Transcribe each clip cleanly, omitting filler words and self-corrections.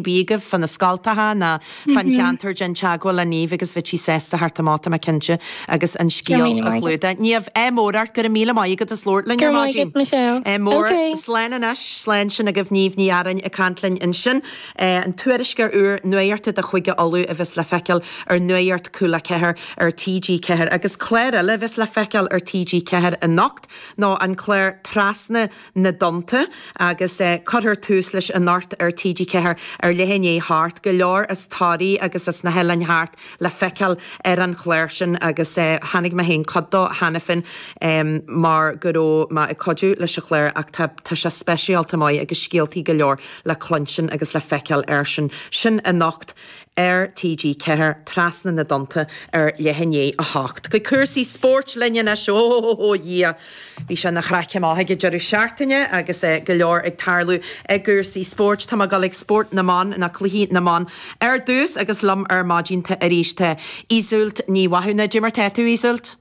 Bith agaibh fá na scoltacha ná fán cheantar, déan teagmháil le Niamh agus bheidh sí sásta theacht amach, tá mé cinnte, agus an scéal a chlúdach. Niamh, ádh mór ort, go raibh míle maith agat as labhairt linn ar maidin. Go raibh maith agat, Michelle. Ádh mór. Slán anois, slán sin agaibh Niamh Ní Earáin ag caint linn ansin. An tuairisceoir úr nuachta do Chúige Uladh a bheas le feiceáil ar Nuacht Cúla 4 ar TG4 agus clár eile a bheas le feiceáil ar TG4 anocht ná an clár Trasna na dTonnta agus cuirfear tús leis anocht ar TG4 ar leath i ndiaidh a hocht. Go leor as Toraigh agus as na hoileáin thart le feiceáil ar an chlár sin agus chonaic mé féin cuid dó cheana féin mar go raibh mé ag cuidiú leis an chlár ach tá tá sé speisialta maith agus scéaltaí go leor le cluinstin agus le feiceáil air sin. Sin anocht. ar TG4, Trasna na dTonnta ar leath i ndiaidh 8. Go cúrsaí spóirt linn anois, ó a Dhia! Bhí sé ina chraic amach ag an deireadh seachtaine agus go leor ag tarlú i gcúrsaí spóirt. Tá mé ag dul ag spórt na mban, nó cluichí na mban ar dtús agus liom ar maidin tá arís tá Iseult Ní Mhathúna. Cad é mar tá tú, Iseult?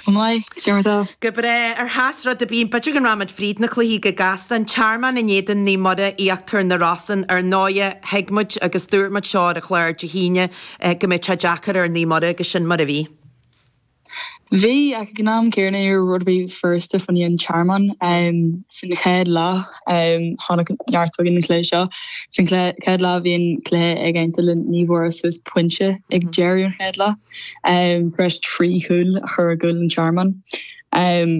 Go maith, cad é mar tá? Go breá. Ar sheas rud ar bith, b'fhéidir go rachaimid fríd na cluichí go gasta. An Tearmann in éadan Naomh Muire, Íochtar na Rosann. Ar ndóighe, thuig muid agus dúirt muid seo ar an chlár Dé hAoine go mbeadh sé deacair ar Naomh Muire agus sin mar a bhí. Bhí, ach ag an am céanna ní raibh rud ar bith furasta fá choinne an Tearmann. San chéad leath, tháinig neart againn an cluiche seo. San chéad leath bhí an cluiche ag aontú le Naomh Muire suas pointe ag deireadh an chéad leath. Tar éis 3 chúl a chur i gcúl an Tearmainn.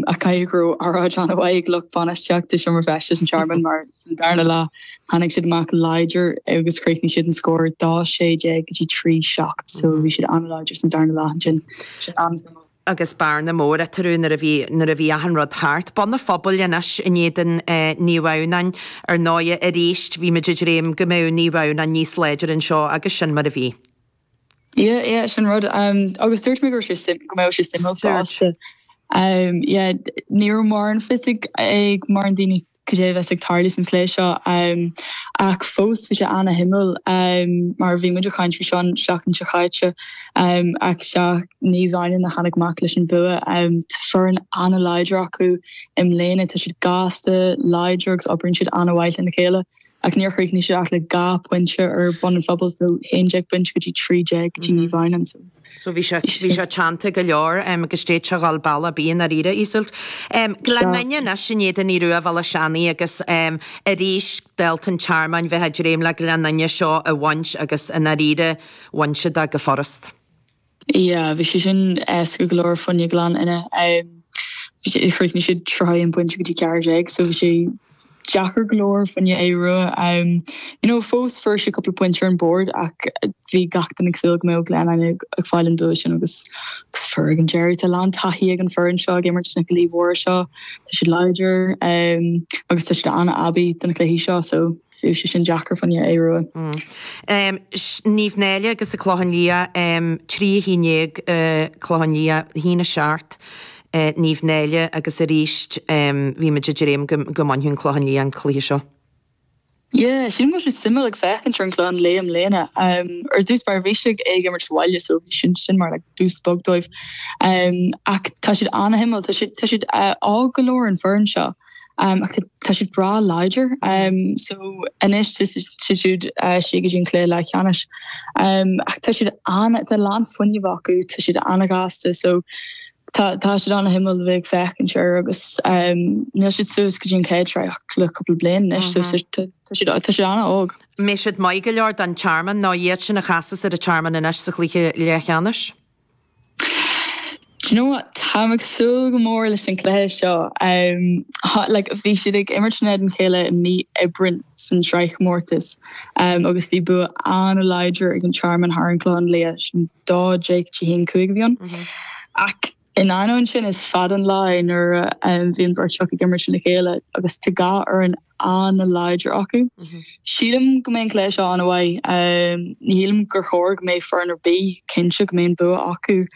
Ach caithfidh go raibh óráid an-mhaith ag lucht bainistíochta Seomra Feistis an Tearmainn mar san darna leath tháinig siad amach láidir agus chríochnaigh siad an scór 2 16 go dtí 3 7 so bhí siad an-láidir san darna leath ansin. Sin an-suimiúil. agus bearna mór eatarthu nuair a bhí nuair a bhí achan rud thart. Bun an Phobail anois in éadan Naomh Adhamhnáin. Ar ndóighe arís bhí muid ag dréim go mbeadh Naomh Adhamhnáin níos láidre anseo agus sin mar a bhí. Yeah, yeah, sin rud. Agus dúirt mé go raibh sé suim, go mbeadh sé suimiúil fosta. Yeah, ní raibh mórán fios ag, ag mórán daoine cad é a bheas ag tarlú san chluiche seo. Ach fós bhí sé ana-shuimiúil mar bhí muid ag caint faoi seo an seachtain seo chaite. Ach sea, Naomh Adhamhnáin a tháinig amach leis an bua. Tá foireann ana-láidir acu i mbliana. Tá siad gasta, láidir agus oibríonn siad ana-mhaith lena chéile. Ach níor chríochnaigh siad ach le 2 pointe ar Bun an Phobail, so 11 pointe go dtí 13 go dtí Naomh Adhamhnáin. So So bhí sé, bhí sé teannta go leor agus d'fhéadfadh sé a dhul bealach ar bith i ndáiríre, Iseult. Gleann Fhinne anois in éadan Aodh Rua Bhéal Átha Seanaidh agus arís dálta an Tearmainn bheith ag dréim le Gleann Fhinne seo a bhaint agus i ndáiríre bhain siad é go furast. Yeah, bhí sé sin éasca go leor fá choinne Gleann Fhinne. Bhí sé, chríochnaigh siad 31 pointe go dtí 14, so bhí sé deacair go leor fá choinne Aodh Rua. You know, fós fuair siad cúpla pointe ar an bord ach bhí gach duine ag súil go mbeadh Gleann Fhinne ag fáil an bua sin agus agus fuair ag an deireadh. Tá a lán taithí ag an foireann seo ag imirt sna cluichí mhóra seo. Tá siad láidir agus tá siad an-aibí do na cluichí seo, so Bhí sé sin deacair fá choinne Aodh Rua. Naomh Náille agus an Clochán Liath, 3 1 Clochán Liath, 1 7 Naomh Náille agus arís bhí muid ag dréim go mbainfeadh an Clochán Liath an cluiche seo. Yeah, sílim go bhfuil sé suimiúil ag féachaint ar an Clochán Liath i mbliana. Ar dtús báire bhí siad ag imirt sa bhaile so bhí sin sin mar like boost beag dóibh. Ach tá siad an-shuimiúil, tá siad tá siad óg go leor an foireann seo. Ach tá siad breá láidir. So anois tá siad siúd siar go dtí an cluiche leathcheannais. Ach tá siad an, tá a lán fuinnimh acu, tá siad an-ghasta so tá tá siad an-shuimiúil a bheith ag féachaint air agus níl siad suas go dtí an chéad sraith ach le cúpla bliain anois so tá siad tá siad an-óg. Mbeidh siad maith go leor don Tearmann nó iad sin a chasas ar an Tearmann anois sa chluiche leathcheannais? Do you know what, táim ag súil go mór leis an cluiche seo. Like, bhí siad ag imirt in éadan a chéile i mí Aibreáin san sraithchomórtas agus bhí bua an-láidir ag an Tearmann thar an Clochán Liath, sin 12 go dtí 1 5 a bhí ann. Ach in ainneoin sin is fada an lá é nuair a bhí an bheirt acu ag imirt lena chéile agus tá dhá fhoireann an-láidir acu. Sílim go mbeidh an cluiche seo an-mhaith. Ní shílim gur chóir go mbeidh foireann ar bith cinnte go mbeidh an bua acu.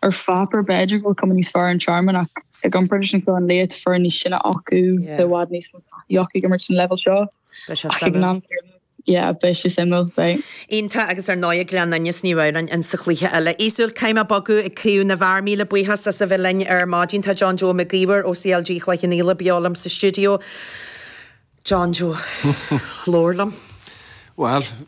Ar pháipéar b'fhéidir go bhfuil cuma níos fearr ar an Tearmann ach i gcomparáid leis an Chlochán Liath tá foireann níos sine acu, tá i bhfad níos mó taithí acu ag imirt san leibhéal seo. Ach ag an am céanna, yeah, beidh sé suimiúil, beidh. Iontach agus ar ndóigh Gleann Fhinne is Naomh Adhamhnáin in sa chluiche eile. Iseult, caithfidh mé bogadh ag Craobh na bhFear. Míle buíochas as a bheith linn ar maidin. Tá John Joe Mac Íomhair ó CLG Chloich Cheann Fhaola beo liom sa stiúideo. John Joe, labhair liom. Bhuel.